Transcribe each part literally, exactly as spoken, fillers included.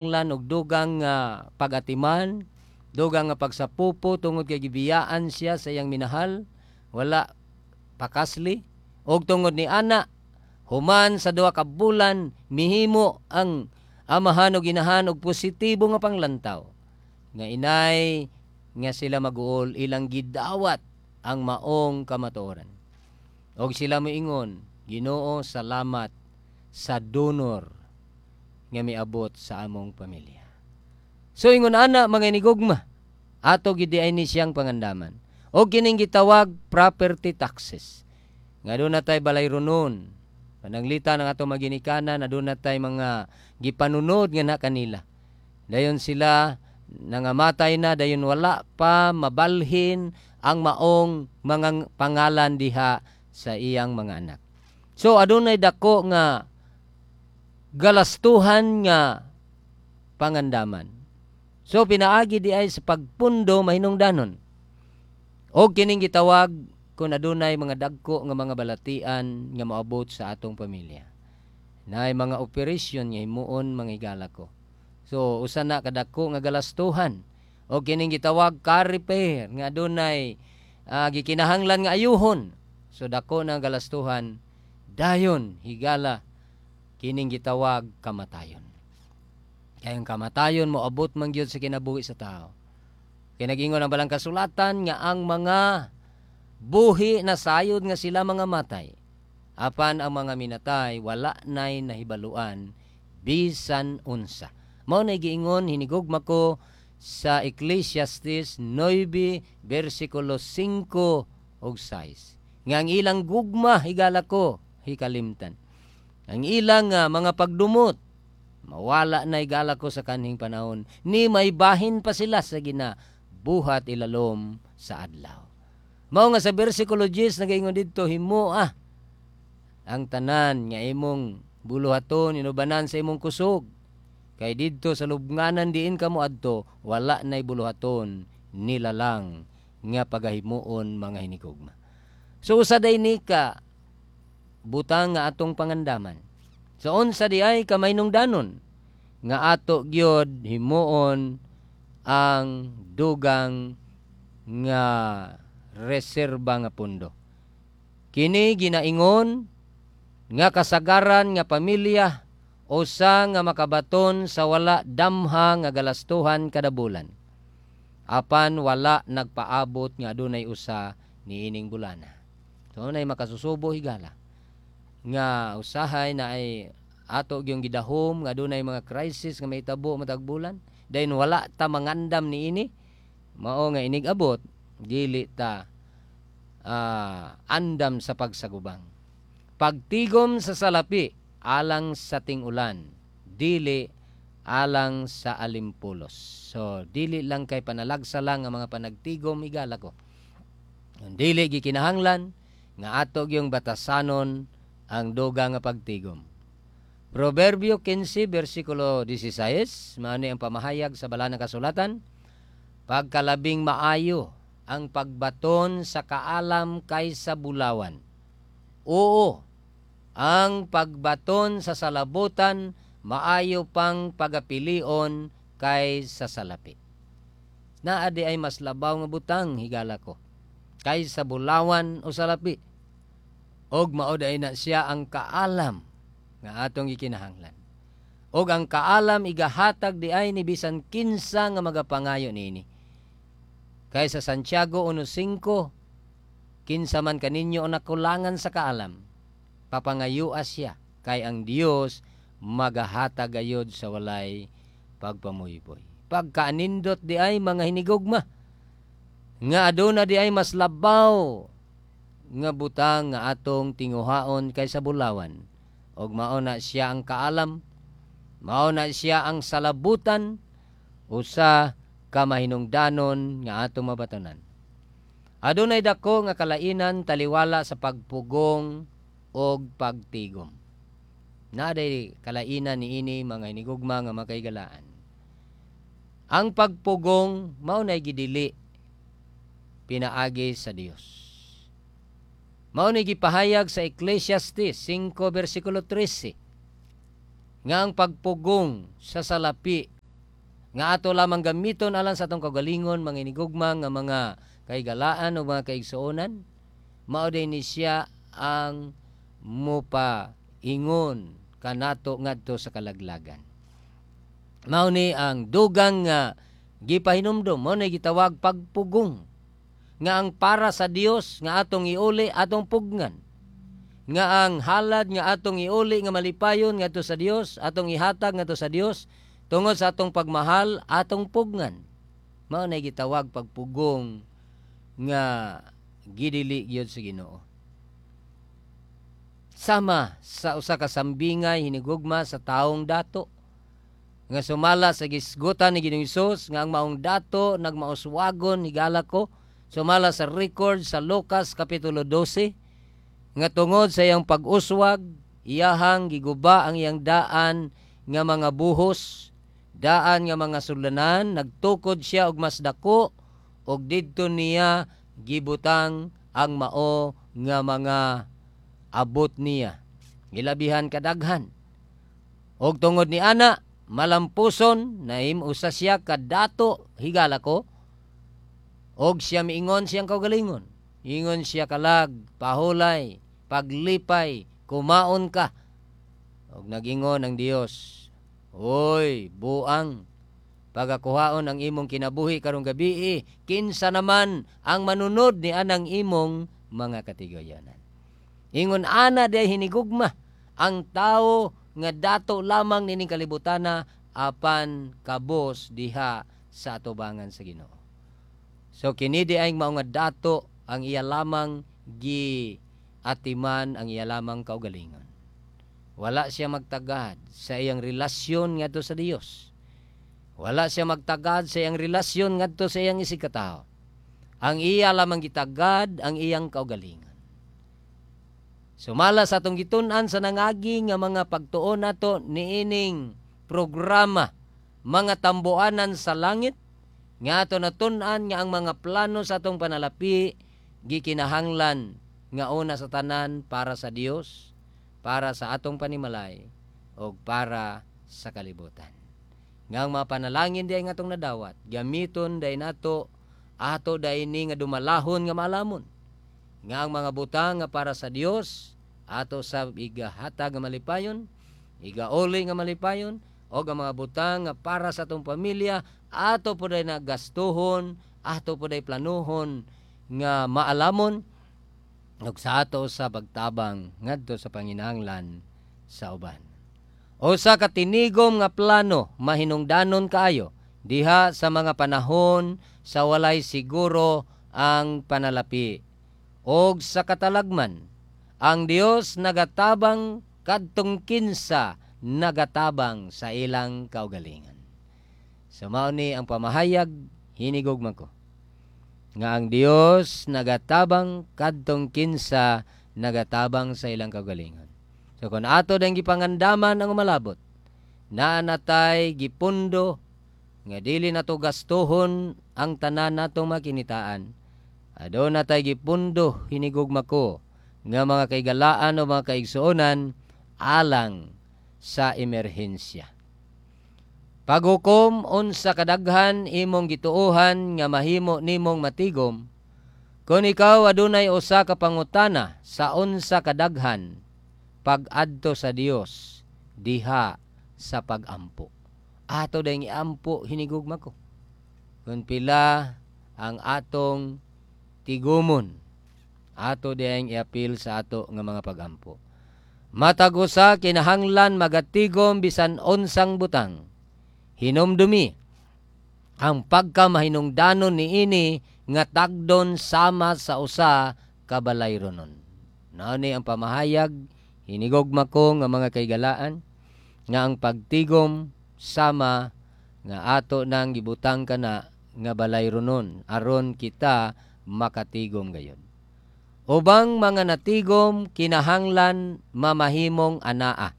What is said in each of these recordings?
Og dugang nga pagatiman, dugang nga pagsapupo tungod kay gibiyaan siya sa iyang minahal, wala pakasli. Og tungod ni ana, human sa duha ka bulan, mihimo ang amahan og inahan og positibo nga panglantaw nga inay nga sila maguol, ilang gidawat ang maong kamatuoran. Og sila moingon, "Ginoo, salamat sa donor nga miabot sa among pamilya." So ingon ana, mga inigugma, ato gid ay ni siyang pangandaman. Og kining gitawag property taxes. Nga duna tay balay-ronon. Pananglita ng ato maginikanan, aduna tay mga gipanunod nga na kanila. Dayon sila nangamatay na, dayon wala pa mabalhin ang maong mga pangalan diha sa iyang mga anak. So adunay dako nga galastuhan nga pangandaman. So pinaagi di ay sa pagpundo mahinungdanon. Og kining gitawag kung adunay mga dagko nga mga balatian nga moabot sa atong pamilya. Naay mga operasyon nga himuon, mga higala ko. So usa na kadako nga galastuhan. Og kining gitawag car repair nga adunay uh, gikinahanglan nga ayuhon. So dako na galastuhan. Dayon, higala, kining gitawag kamatayon. Kay ang kamatayon moabot man gyud sa kinabuhi sa tao. Kay nagingon ang balang kasulatan nga ang mga buhi na sayod nga sila mga matay. Apan ang mga minatay wala nay nahibaluan bisan unsa. Mao na giingon, hinigugma ko, sa Ecclesiastes nine versikulo singko ug sais. Nga ang ilang gugma, higala ko, hikalimtan. Ang ilang uh, mga pagdumot mawala na, higala ko, sa kanhing panahon ni may bahin pa sila sa ginabuhat ilalom sa adlaw. Mao nga sa versikulo diyes nagaingon didto, himoa ang tanan nga imong buluhaton inubanan sa imong kusog. Kay didto sa lubnganan diin ka mo adto, wala na'y buluhaton nilalang nga pagahimuon, mga hinigugma. So usa day ni ka butang nga atong pangandaman. So unsa di ay kamahinungdanon nga ato gyud himuon ang dugang nga reserba nga pundo. Kini ginaingon nga kasagaran nga pamilya usa nga makabaton sa wala damha nga galastuhan kada bulan. Apan wala nagpaabot nga adunay usa niining bulana. So nay makasusubo, higala, nga usahay na ay ato gyung gidahom nga adunay mga crisis nga mahitabo matag bulan, dayon wala ta mangandam niini, mao nga inig abot dili ta uh, andam sa pagsagubang. Pagtigom sa salapi alang sa ting-ulan, dili alang sa alimpulos. So dili lang kay panalagsa lang ang mga panagtigom, higala ko. Dili gikinahanglan nga ato gyung batasanon ang dugang nga pagtigom. Proverbio kinse versikulo disisayis, maani ang pamahayag sa balaan nga kasulatan: "Pagkalabing maayo ang pagbaton sa kaalam kaysa bulawan. Oo, ang pagbaton sa salabutan maayo pang pagapilion kaysa salapi." Naa di ay mas labaw nga butang, higala ko, kaysa bulawan o salapi. Og mao day na siya ang kaalam nga atong gikinahanglan. Og ang kaalam igahatag di ay ni bisan kinsa nga magapangayo niini. Kay sa Santiago uno singko, "Kinsa man kaninyo ang nakulangan sa kaalam, papangayua siya, kay ang Dios magahatag gayod sa walay pagpamuyboy." Pagkaanindot di ay, mga hinigugma, nga aduna di ay mas labaw nga butang nga atong tinguhaon kaysa bulawan. Og mao na siya ang kaalam, mao na siya ang salabutan, usa ka mahinungdanon nga atong mabatonan. Adunay dako nga kalainan taliwala sa pagpugong og pagtigom. Naday kalainan niini, mga hinigugma nga makaigalaan. Ang pagpugong mao nay gidili pinaagi sa Dios. Mao ni gipahayag sa Ecclesiastes singko versikulo trese. Nga ang pagpugong sa salapi nga ato lamang gamiton alang sa atong kaugalingon, mga inigugma nga mga kahigalaan o mga kaigsuonan, mao ni siya ang mupa ingon kanato ngadto sa kalaglagan. Mao ni ang dugang nga gipahinumdom, mao ni gitawag pagpugong nga ang para sa Dios nga atong iuli, atong pugnan, nga ang halad nga atong iuli nga malipayon ngadto sa Dios, atong ihatag ngadto sa Dios tungod sa atong pagmahal, atong pugnan. Mao na gitawag pagpugong nga gidili gyud sa Ginoo. Sama sa usa ka sambingay, hinigugma, sa taong dato nga sumala sa gisgutan ni Ginoong Hesus nga ang maong dato nagmauswagon, higala ko, sumala sa record sa Lucas kapitulo dose, nga tungod sa iyang pag-uswag, iyahang giguba ang iyang daan nga mga buhos, daan nga mga sulanan, nagtukod siya og mas dako og didto niya gibutang ang mao nga mga abot niya gilabihan kadaghan. Og tungod ni ana malampuson, nahim usa siya kadato, higala ko, og siya miingon siyang kaugalingon, ingon siya kalag, "Pahulay, paglipay, kumaon ka." Og nagingon ang Dios, "Oy, buang, pagakuhaon ang imong kinabuhi karong gabi, kinsa naman ang manunod ni anang imong mga katigayanan?" Ingon ana day, hinigugma, ang tao nga dato lamang nining kalibutana apan kabos diha sa atubangan sa Ginoo. So kini di ay mao nga dato, ang iya lamang gi atiman ang iya lamang kaugalingon. Wala siya magtagad sa iyang relasyon ngadto sa Dios. Wala siya magtagad sa iyang relasyon ngadto sa iyang isigkatawo. Ang iya lamang gitagad ang iyang kaugalingon. Sumala sa atong gitun-an sa nangagi nga mga pagtuon nato niining programa, Mga Tambuanan sa Langit, nga ato natun-an nga ang mga plano sa atong panalapi gikinahanglan nga una sa tanan para sa Dios, para sa atong panimalay o para sa kalibutan. Nga ang mga panalangin diay nga atong nadawat, gamiton day nato ato day ni nga dumalahon nga maalamon. Nga ang mga butang nga para sa Dios ato sa igahatag nga malipayon, igauli nga malipayon, o ang mga butang nga para sa atong pamilya ato po day na gastuhon, ato po day planuhon nga maalamon ug sa ato sa pagtabang ngadto sa panginahanglan sa uban. Usa ka tinigom nga plano mahinungdanon kaayo diha sa mga panahon sa walay siguro ang panalapi. Og sa katalagman, ang Dios nagatabang kadtong kinsa nagatabang sa ilang kaugalingon. So mao ni ang pamahayag, hinigugma ko, nga ang Dios nagatabang kadtong kinsa nagatabang sa ilang kaugalingon. So kung ato dang gipangandaman ang umalabot, naa natay gipundo nga dili nato gastuhon ang tanan natong makinitaan. Aduna tay gipundo, hinigugma ko, nga mga kaigalaan o mga kaigsuonan alang sa emerhensya. Paghukom unsa kadaghan imong gituohan nga mahimo nimong matigom, kung ikaw adunay usa ka pangutana sa unsa kadaghan pag-adto sa Dios diha sa pag-ampo. Ato dayong iampo, hinigugma ko, kung pila ang atong tigumon, ato dayong iapil sa ato nga mga pagampo. Matag usa kinahanglan magatigom bisan unsang butang. Hinumdumi ang pagkamahinungdanon niini nga tagdon sama sa usa ka balayronon. Mao ni ang pamahayag, hinigugma ko, nga mga kaigalaan, nga ang pagtigom sama nga ato nang gibutang kana nga balayronon aron kita makatigom gayon. Ubang mga natigom kinahanglan mamahimong anaa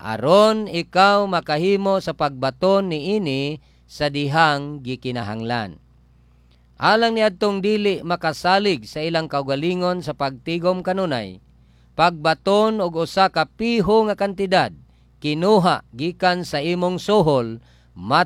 aron ikaw makahimo sa pagbaton niini sa dihang gikinahanglan. Alang niadtong dili makasalig sa ilang kaugalingon sa pagtigom kanunay, pagbaton og usa ka piho nga kantidad Kinuha gikan sa imong suhol.